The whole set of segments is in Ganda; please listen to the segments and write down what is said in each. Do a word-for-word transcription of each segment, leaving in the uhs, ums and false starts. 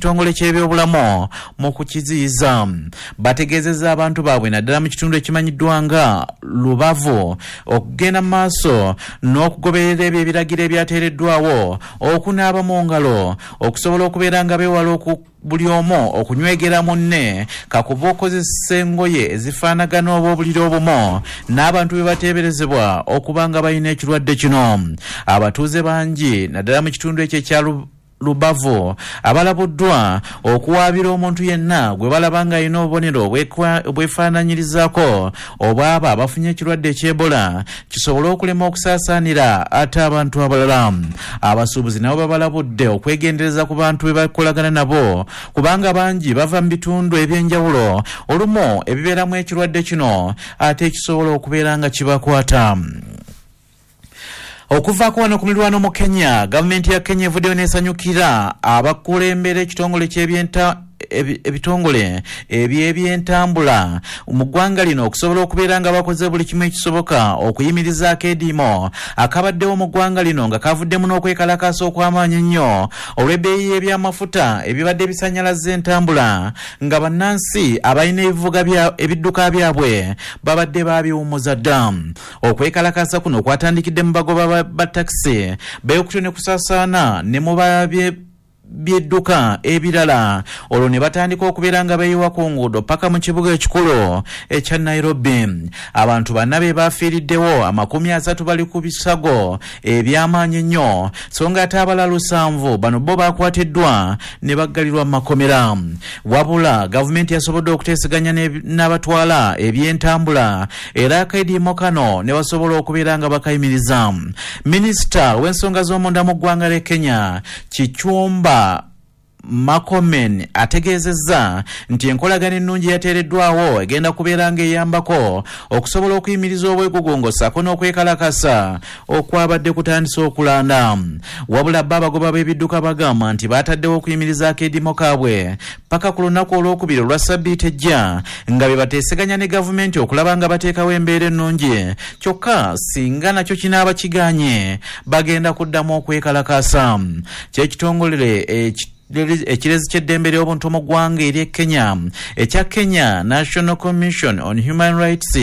N'ekitongole ky'ebyobulamu mu kukiziyiza bategeezezza abantu baabwe naddala mu kitundu ekimanyiddwa nga Lubavu okugenda mu maaso n'okugoberera ebyo ebiragiro ebyateereddwawo okunaaba mu ngalo okusobola okubeera nga beewala oku buli omu okunywegera munne kakuba okozesa engoye ezifaanagana oba obuliri obumu n'abantu be bateeberezebwa okuba nga balina ekirwadde kino. Abatuuze bangi naddala mu kitundu ekyo ekya Lubavu abalabuddwa okuwaabira omuntu yenna gwe balaba nga alina obubonero obwefaananyirizaako obwaba abafunye ekirwadde eky'Ebola kisobole okulema okusaasaanira ate abantu abalala. Abasuubuzi nabo babalabudde okwegendereza ku bantu be bakolagana nabo kubanga bangi bava mu bitundu ebyenjawulo olumu ebibeeramu ekirwadde kino ate ekisobola okubeera nga kibakwata. Okuvaako wano ku mirwano mu Kenya, gavumenti ya Kenya evuddeyo n'esanyukira abakulembera ekitongole ky'ebyenta ebitongole eby'ebyentambula mu ggwanga lino okusobola okubeera nga bakoze buli kimu ekisoboka okuyimiriza akeediimo akabaddewo mu ggwanga lino nga kavuddemu n'okwekalakaasa okw'amaanyi ennyo olw'ebbeeyi y'ebyamafuta ebibadde bisannyalaza entambula nga bannansi abalina ebivuga ebidduka byabwe babadde baabiwummuza dda. Okwekalakaasa kuno kwatandikidde mu bagoba ba takisi beekutyo ne kusaasaana ne mu babye byedduka ebirala olwo ne batandika okubeera nga beeyiwa ku nguudo paka mu kibuga ekikulu ekya Nairobi. Abantu banna be bafiiriddewo, amakumi asatu bali ku bisago eby'amaanyi ennyo so nga ate abalala lusanvu bano bo bakwatiddwa ne baggalirwa mu makomera. Wabula gavumenti yasobodde okuteeseganya n'abatwala ebyentambula era akediimo kano ne basobola okubeera nga bakayimiriza. Minisita w'ensonga z'omunda mu ggwanga ly'e Kenya Kipchumba Murkomen ategeezezza nti enkolagana ennungi yateereddwawo egenda kubeera ng'eyambako okusobola okuyimiriza obwegugungo ssaako n'okwekalakasa okwabadde kutandise okulanda. Wabula bo abagoba b'ebidduka bagamba nti baataddewo okuyimiriza akeediimo kaabwe paka ku lunaku olwokubiri olwa ssabbiiti ejja nga be bateeseganya ne gavumenti okulaba nga bateekawo embeera ennungi, kyokka singa nakyo kinaaba kigaanye bagenda kuddamu okwekalakasa. Kyekitongole eki ekirezi ky'eddembe ly'obuntu mu ggwanga ery'e Kenya ekya Kenya National Commission on Human Rights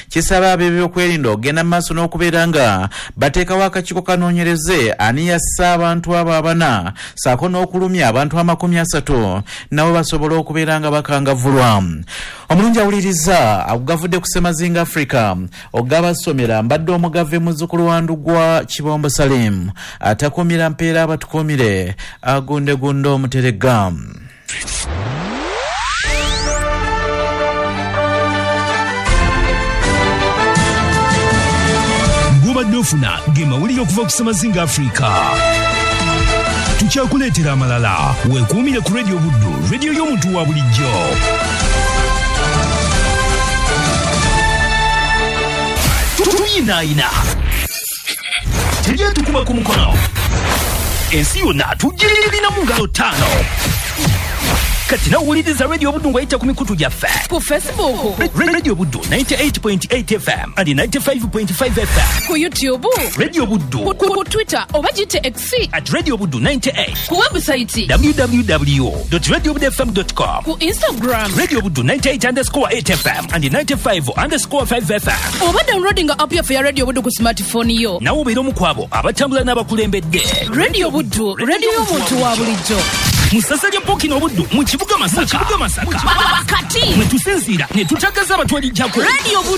kisaba ab'ebyokwerinda okugenda mu maaso n'okubeera nga bateekawo akakiiko kanoonyereze ani yassa abantu abo abana ssaako n'okulumya abantu amakumi asatu nabo basobole okubeera nga bakangavvulwa. Omulungi awuliriza agavudde ku Ssemazinga Africa ogabasomera mbadde omugave muzzukulu wa Ndugwa Kibombo Salim atakuumira mpeera abatukuumire agundegunde omuteregga. Gubadde ofuna ge mawulire okuva ku Ssemazinga Africa. Tukyakuleetera amalala. Weekuumire ku Radio Buddu, radio y'omuntu wa bulijjo. Tuyinaayina teryetukuba ku mukono, ensi yonna tugirina mu ngalo ttaano. Kati nawuliriza Radio Buddu ng'oyita ku mikutu gyaffe ku Facebook Radio Buddu ninety-eight point eight F M and ninety-five point five F M, ku YouTube Radio Buddu, ku, ku Twitter oba gite X at Radio Buddu ninety-eight, ku website w w w dot radio buddu f m dot com, ku Instagram Radio Buddu ninety-eight underscore eight F M and ninety-five underscore five F M, oba downloading app yaffe ya Radio Buddu ku smartphone yo. Nawe obeera omu ku abo abatambula n'abakulembedde. Radio Buddu, radio y'omuntu wa bulijjo. Mu ssaza lya Pokino Obuddu mu kibuga Masaka, Wakati mwe tusinziira ne tutagaza abatwalijjako Radio Buddu.